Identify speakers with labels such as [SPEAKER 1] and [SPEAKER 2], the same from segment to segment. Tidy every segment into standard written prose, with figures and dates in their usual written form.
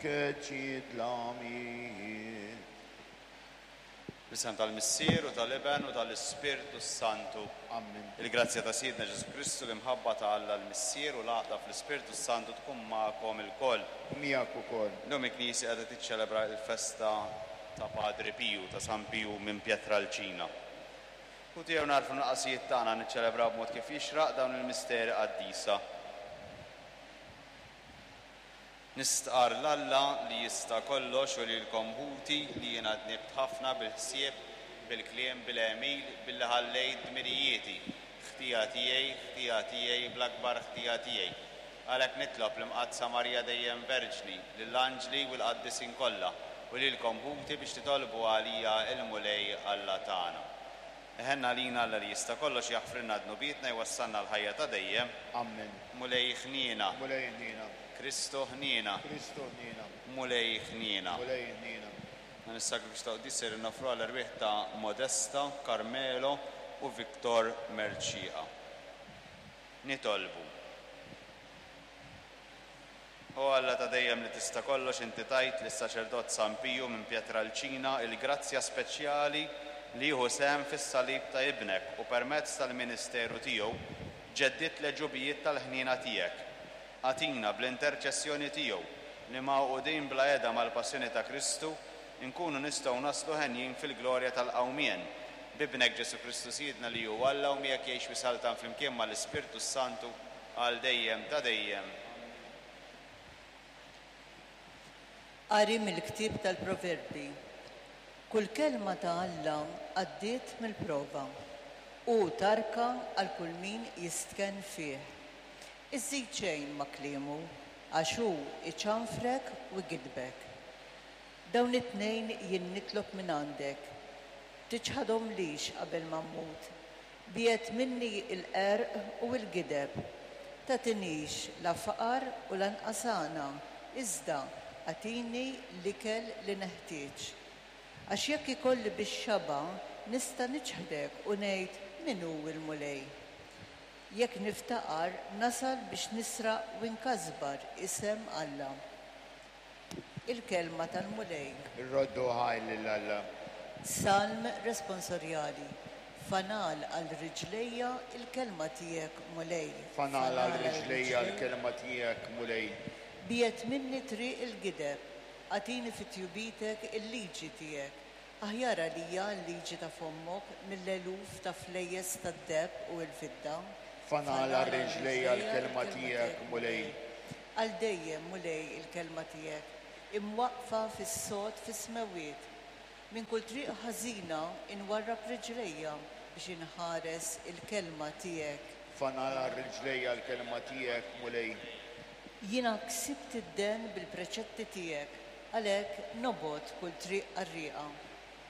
[SPEAKER 1] Keċċi d-dlamijiet.
[SPEAKER 2] Fl-isem tal-Missier u tal-Iben u tal-Ispirtu s-Santu.
[SPEAKER 1] Ammen.
[SPEAKER 2] Il-grazzja ta' Sidna Ġesù Kristu, l-imħabba ta' Alla l-Missier u l-għaqda fl-Ispirtu s-Santu tkun magħkom ilkoll.
[SPEAKER 1] U miegħek ukoll.
[SPEAKER 2] Illum il-Knisja qiegħda tiċċelebra l-festa ta' Padri Piju, ta' San Piju minn Pietralcina. Hu tiegħu nagħrfu n-nuqqasijiet tagħna niċċelebraw b'mod kif jixraq dawn il-misteri qaddisa. Nistqarr 'l Alla li jista' kollox u lilkom ħuti li jiena dnibt ħafna bil-ħsieb, bil-kliem, bil-għemil, billi ħallejt dmirijieti. Ħtija tiegħi, ħtija tiegħi, bl-akbar ħtija tiegħi. Għalhekk nitlob l-Imqaddsa Marija dejjem Verġni, lill-anġli u l-qaddisin kollha, u lilkom ħuti biex titolbu għalija 'l Mulej Alla tagħna. Iħenn għalina Alla li jista' kollox jaħfrilna dnubietna jwassalna għall-ħajja ta' dejjem.
[SPEAKER 1] Ammen.
[SPEAKER 2] Mulej ħniena.
[SPEAKER 1] Mulej ħniena.
[SPEAKER 2] Kristu ħniena.
[SPEAKER 1] Kristu ħniena.
[SPEAKER 2] Mulej ħniena.
[SPEAKER 1] Mulej ħniena.
[SPEAKER 2] Dan is-sagrifiċċju ta' quddies ser noffru għall-erwieħ ta' Modesta, Carmelo u Victor Mercieca. Nitolbu. O Alla ta' dejjem li tista' kollox, inti tajt lis-saċerdot San Piju minn Pietralcina il-grazzja speċjali li jieħu sehem fis-salib ta' Ibnek u permezz tal-ministeru tiegħu ġeddidt l-għeġubijiet tal-ħniena tiegħek. Agħtina bl-interċessjoni tiegħu li magħqudin bla heda mal-passjoni ta' Kristu nkunu nistgħu naslu henjin fil-glorja tal-qawmien. B'Ibnek Ġesù Kristu Sidna li hu Alla u miegħek jgħix u jsaltan flimkien mal-Ispirtu s-Santu għal dejjem ta' dejjem.
[SPEAKER 3] Qari mill-ktieb tal-Proverbi. Kull kelma ta' Alla għaddiet mill-prova. Hu tarka għal kull min jistkenn fih. Iżżid xejn ma' kliemu, għax hu iċanfrek u jgiddbek. Dawn it-tnejn jien nitlob minn għandek. Tiċħadhomlix qabel ma mmut. Biegħed minni l-qerq u l-gideb. Tagħtinix la faqar u lanqas għana, iżda agħtini l-ikel li neħtieġ. Għax jekk ikolli bix-xaba' nista' niċħdek u ngħid, 'Min hu l-Mulej? Jekk niftaqar nasal biex nisraq u nkasbar isem Alla. Il-kelma tal-Mulej.
[SPEAKER 1] Irroddu ħajr lil Alla.
[SPEAKER 3] Salm responsorjali. Fanal għal riġlejja l-kelma tiegħek, Mulej.
[SPEAKER 1] Fanal għal riġlejja l-kelma tiegħek, Mulej.
[SPEAKER 3] Biegħed minni triq il-gideb, agħtini fi tjubitek il-liġi tiegħek. Aħjar għalija l-liġi ta' fommok mill-eluf ta' flejjes tad-deheb u l-fidda.
[SPEAKER 1] Fanal għal riġlejja l-kelma tiegħek, Mulej.
[SPEAKER 3] Għal dejjem, Mulej, il-kelma tiegħek, imwaqqfa fis-sod fis-smewwiet. Minn kull triq ħażina nwarrab riġlejja biex inħares il-kelma tiegħek.
[SPEAKER 1] Fanal għal riġlejja l-kelma tiegħek, Mulej.
[SPEAKER 3] Jiena ksibt id-den bil-preċetti tiegħek, għalhekk nobgħod kull triq qarrieqa.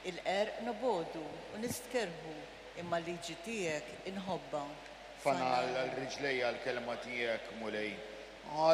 [SPEAKER 3] Il-qerq nobogħdu u nistkerrħu, imma l-liġi tiegħek inħobbha.
[SPEAKER 1] Fanal għal riġlejja l-kelma tiegħek, Mulej.